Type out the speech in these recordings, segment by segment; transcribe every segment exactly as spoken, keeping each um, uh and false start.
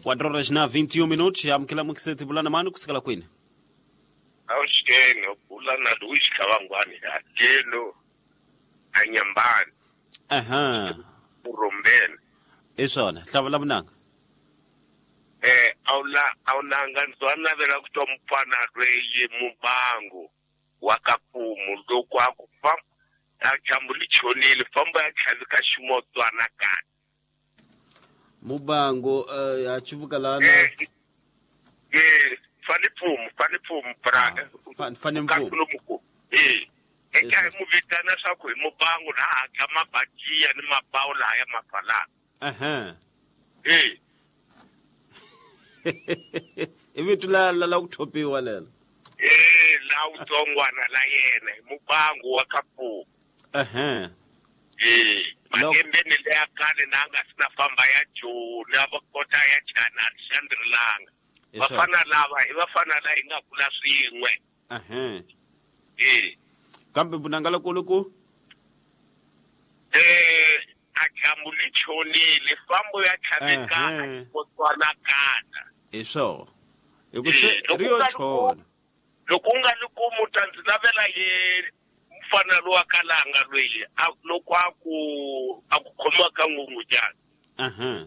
quatro horas na vinte e um minutos, amukela mukiseti bulana mani kusukela kwini? Awuxikeni bulana Luis Kavangwani hakelo anyambani. Aha. Urombeni. Isona, hlawula vunanga. Eh awula awunanga ndzwana vela ku twa mfana lweyi mubango wa kapumu loko a ku famba a dyambu li chonile famba ya tlhavika ximotswana kani. Mubango ya chivuka lana. Eh eh fani pfumu fani pfumu bra. Fani mpfumu. Eh eka mu vitana swa ku hi mubango la hakha mabakiya ni mabawu la ya mafalana. Aha. Eh i vito la la la ku thopiwa lelo. Eh la utsongwana la yena hi mubango wa kapumu. Aha. Eh malembeni leya khale na nga sina famba ya Joni a va kota ya Chana Xandrilanga. Vafana lava hi vafana la hi nga kula swin'we. Aha. Eh kambe vunanga lokulu ku eh a dyambu li chonile fambo ya tlhaveka xikotswana kana. Hi swona hi ku se ri yo chona. Loko u nga li kumu ta ndzi navela ye mfana lowa kalanga lweyi loko a ku a ku khomiwa ka ngungunyana. Aha.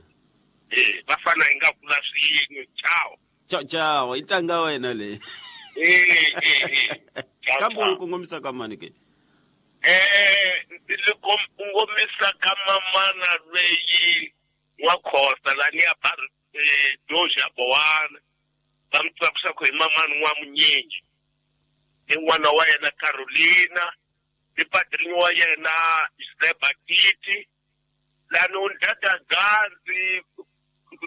Eh vafana hi nga kula swin'we. Ciao. Ciao ciao, i ntanga wena leyi. Eh eh eh. Kambe u li kongomisa ka mani ke? Eh ndzi li kongomisa ka mamana lweyi wa Khosa lani ya ba Doja Bowana va mi tsakisa ku hi mamani wa Munyingi i n'wana wa yena Carolina i padrinho wa yena Zeba Titi lani u ndada Ganzi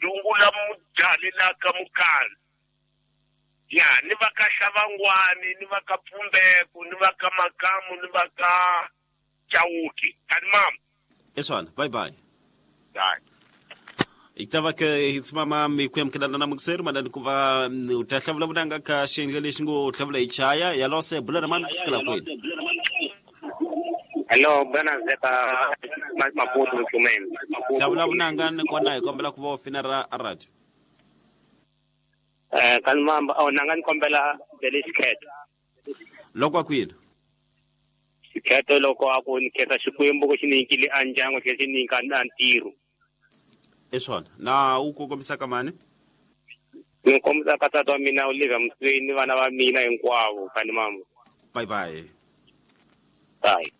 rungula mujali la ka Mukani ya ni va ka Xavangwani ni va ka Pfumbeku ni va ka Makamu ni va ka Chauki kani mama. Isona, bye bye. Bye. Itava ke hitsimama mi kuyamkelana na mukseru madani kuva utahlavula vunanga ka xendle lexi ngo hlavula ichaya ya lose bulana mani kusukela kwini. Hello, bwana Zeka Maputo Mchumeni. Hlavula vunanga ni kona hi kombela ku va ofina ra radio. Eh kani mamba oh nanga ni kombela bele xikhetho. Loko kwini? Xikhetho loko a ku ni khetha Xikwembu ku xi nyikile a ndyangu xi nyika na ntirho. Isona, na u kongomisa ka mani? Ni kombisa ka tata wa mina Olivia Msweni vana va mina hinkwavo kani mama. Bye bye. Bye.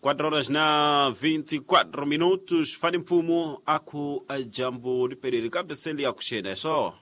quatro horas na vinte e quatro minutos. Fani Mfumo aku jambo liperere kambe seli ya kushena so.